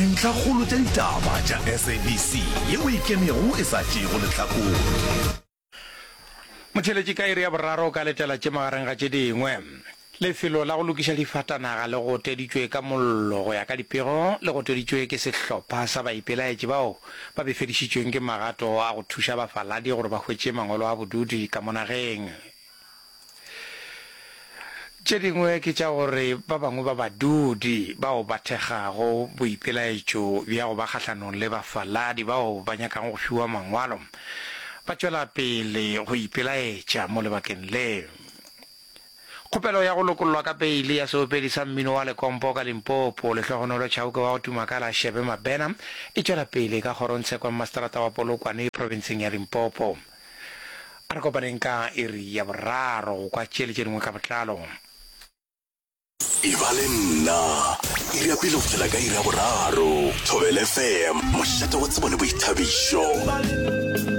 Dintlhakgolo tša ditaba tša SABC yeo e ikemego e sa tšeego lehlakore. Motheeletši ka iri ya boraro o ka letela tše magareng ga tše dingwe. Lefelo la go lokiša difatanaga le goteditšwe ka mollo go ya ka dipego le goteditšwe ke sehlopha sa baipelaetši bao ba befedišitšweng ke magato a go thuša bafaladi gore ba hwetše mangwalo a bodudi ka mo nageng. Tše dingwe ke tša gore ba bangwe ba badudi bao ba thekgago boipelaetšo bja go ba kgahlanong le bafaladi bao ba nyakago go fiwa mangwalo ba tšwela pele go ipelaetša mo lebakeng le. Kgopelo ya go lokollwa ka peile ya seopedi sa mmino wa lekompo ka Limpopo, Lehlogonolo Chauke wa go tuma ka la Shebe Mabena, e tšwela pele ka kgorongtsheko ya mmaseterata wa Polokwane profenseng ya Limpopo. A re kopaneng ka iri ya boraro go kwa tše le tše dingwe ka botlalo. E ba le nna iri ya pele go fihlela ka iri ya boraro. Thobela FM, mošate wa tsebo le boithabišo.